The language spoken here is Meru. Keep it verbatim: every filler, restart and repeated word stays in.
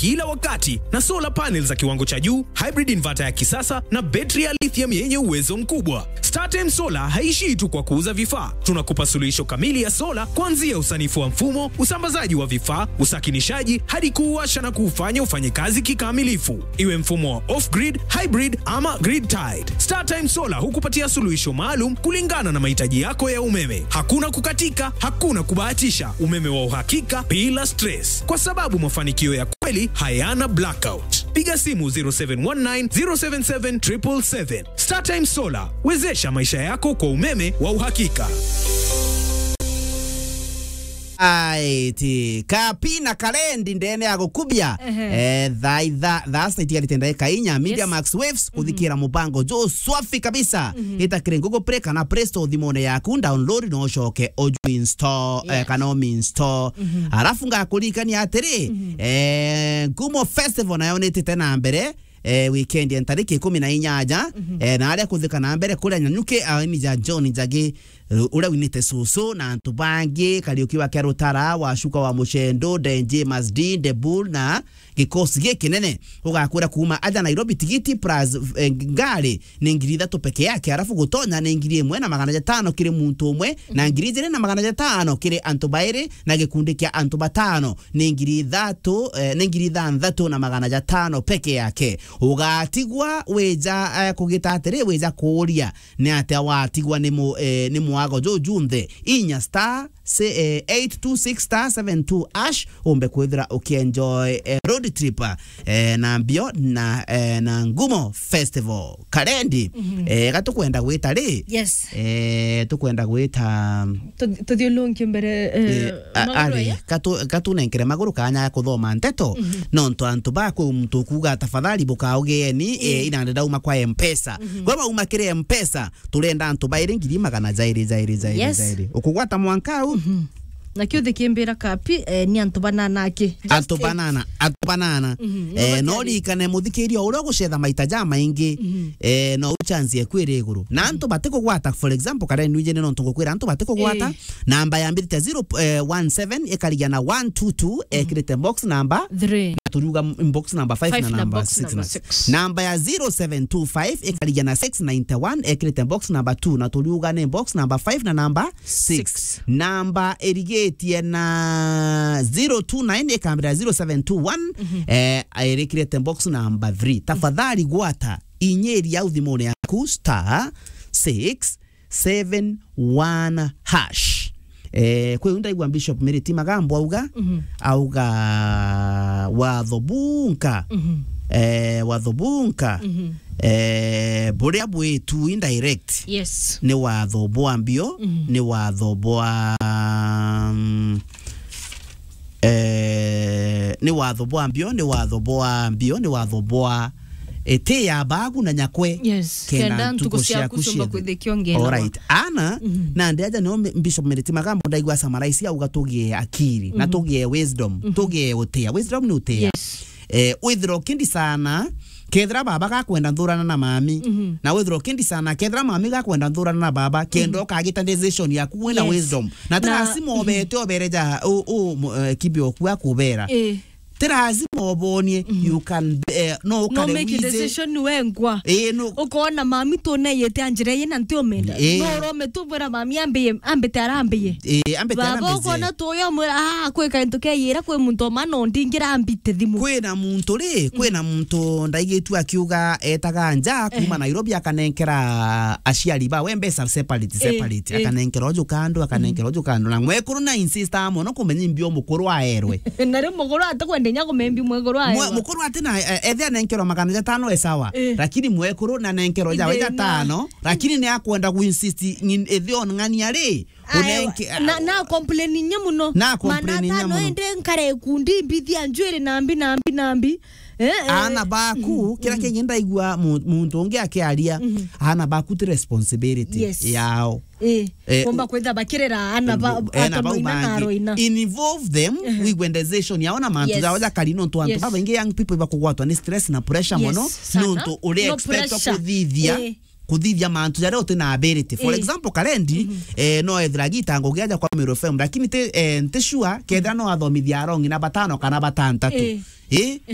kila wakati na solar panels za kiwango cha juu, hybrid inverter ya kisasa na betri ya lithium yenye uwezo mkubwa. StarTime Solar haishii tu kwa kuuza vifaa. Tunakupa suluhisho kamili ya sola, kuanzia usanifu wa mfumo, usambazaji wa vifaa, usakinishaji, hadi kuuwasha na kuufanya ufanye kazi kikamilifu. Iwe mfumo wa off-grid, hybrid ama grid tied, StarTime Solar hukupatia suluhisho maalum kulingana na mahitaji yako ya umeme. Hakuna kukatika, hakuna kubahatisha, umeme wa uhakika bila stress, kwa sababu mafanikio ya kweli hayana blackout. Piga simu zero seven one nine, zero seven seven, triple seven. StarTime Solar, wezesha maisha yako kwa umeme wa uhakika. Aiti, Kapi na Kalendi ndene ya gukubia. Ehe. Eh, thaa itha-, thaa sita itigarite ndagika inya, Media Yes. Max Waves, Mhm. kuthikira mubango jo swafi kabisa. Mhm. Ita kiri Google Play kana Play Store thimone yaku, download na ucoke uju install, eh, Yes. kana umi install. Mhm. Arafu ngakuririkania atiri, Mhm. eh, Ngumo Festival nayo nitite na mbere, eh, weekend ya ntariki ikumi na inyanya, Mhm. eh, na aria kuthika na mbere kuria Nyanyuki, aini ja John Njagi, eh, uria winite Susu na antu bangi, Kariuki wa Kiarutara, Wacuka wa Mucendo, De James D, De Bull na gikosi gikinene. Ugakwira kuuma aja Nairobi, tigiti plus, eh, ngari ni ngiri ithatu peke yake, arafu gutonya ni ngiri imwe na magana jatano kiri muntu umwe, na ngiri ijiri na magana jatano kiri antu bairi, na gikundi kia antu batano ni ngiri ithatu, eh, ni ngiri ithanthatu na magana jatano peke yake. Ugatigwa wija, eh, kugita atiri, wija kuuria ni atia watigwa ni mu-, eh, ni mwago juju nthe. Inya star, se-, eh, eight two six star seven two hash, umbe kwithira ukienjoy, eh, road trip, eh, na mbio na, eh, na Ngumo Festival. Kalendi, Mhm. eh, ga tukwenda gwita ri? Yes. Eh, tukwenda gwita Tu-, tuthiulunkie mbere, eh, Eh, a-, maguru ari, aya? Katu-, katunenkere maguru kanya ya kuthoma nteto, Mhm. nontu antu ba kwi muntu ukuga, "Tafadhali bukaugeeni, eh, Mm. inande ndauma kwa Mpesa." Mhm. Kwa bauma kiri Mpesa, turenda antu bairi ngiri magana jairi, jairi, jairi, Yes. jairi. Ukugwata mwanka au? Mhm. Na kiuthi kimbira Kapi, eh, ni antu banana aki. Just Antu eight. banana, antu banana. Mhm, Eh, no no makeri. Ririkane muthikiria uria ugucetha maita jamaingi, Mhm. eh, no uchance ekwire iguru. Na antu batikugwata, for example, kare nwije ni nontu ngukwira antu batikugwata, Eh. namba yambirite zero, eh, one seven, ikarigia na one two two, Mhm. ekirite box number Three. Na turiuga m-, box number five Five na na number box six number na six. Namba ya zero seven two five ikarigia na six ninety one, ekirite box number two, na turiuga ni box number five na number six. Six. Namba irigitie na zero two nine ikambira zero seven two one, Mhm. eh, irikirite box number three. Tafadhali gwata inyiri au thimune yaku star six seven one hash. Eh, kwi u ndaigua Bishop Miriti Magambo auga, Mhm. auga watho bunka, Mhm. eh, watho bunka, Mhm. eh, buria bwitu indirect, Yes. ni watho bwa mbio, Mhm. ni watho bwa, mm, eh, ni watho bwa mbio, ni watho bwa mbio, ni watho bwa iti ya bagu na nyakwe. Yes, kenda ntuku ciaku ciumba kwithikio ngenda. Alright. Ana, Mhm. na ndi aja nio Bishop Miriti Magambo ndaigua summarize auga tugie akiri, na Mhm. tugie wisdom, Mhm. tugie utia. Wisdom ni utia. Yes. Eh, withira ukindi sana, kethira baba gakwenda nthurana na mami, Mhm. na withira ukindi sana, kethira mami gakwenda nthurana na baba, kenda Mhm. ukagita decision yaku wina Yes. wisdom. Na ti Na lazima obete obereja u, u, mu-, eh, kibi oku akubera. Eh. Ti lazima obonie, Mhm. you can, eh, no No ukare make a wize. Decision wengwa. Eh, no. Ukona mami tuneyete anjira ii na ntiumenda. Eh. No urome tubwira mami ambiye, ambite arambiye. Eh, ambite Baba arambiye. Ukona tuyo mwira, "Ah, kwi kaintu keyira kwi muntu oma no ndingira ambite thimu." Kwina muntu ri, Mhm. kwina muntu ndaigitue akiuga etaga nja kuma Ehe. Nairobi akanenkera aciari bawe mbeca separate, Eh, separate. Eh. Akanenkera uju kandu, akanenkera Mhm. uju kandu. Na mwekuru na insista mono kumenya imbio mukuru aerwe. Na riu mukuru atikwenda inya kumembi mwekuru aerwa. Mwe-, mukuru ati na, eh, ethe anenkerwa magana jatano e sawa. Eh. Lakini mwekuru na nenkerwa jawe Ithina. Jatano, lakini ni akwenda ku insist ng'in-, ethe on ng'ania ri. Aerwa, Unenke-, na, na complain inya muno. Na complain inya muno. Magana atano ende nkare ikundi mbithia njwiri nambi, nambi, nambi. Eh, eh. Ana baku, Mhm, kira mhm. Kingi ndaigua mu-, muntu ungi akiaria, Mhm. ana baku ti responsibility Yes. yao. Eh, Eh, kumba u-, kwitha bakirera ana ba-, mbu-, ena bau atonoina na bangi. Aroina. Involve them, Ehe. Wigwe decision yao na mantu Yes. jao jakari nontu antu Yes. babaingi young people bakugwatwa ni stress na pressure Yes, mono, sana. Nontu uri No expect pressure. Kuthithia, Eh. Kuthithia mantu jaria uti na ability. For Eh. Example, Kalendi, Mhm. Eh, no ethira gita ngugi aja kwa Meru F M, lakini ti, eh, nti sure, kethira no athomithia arongi na batano kana batantatu. Eh. Eh?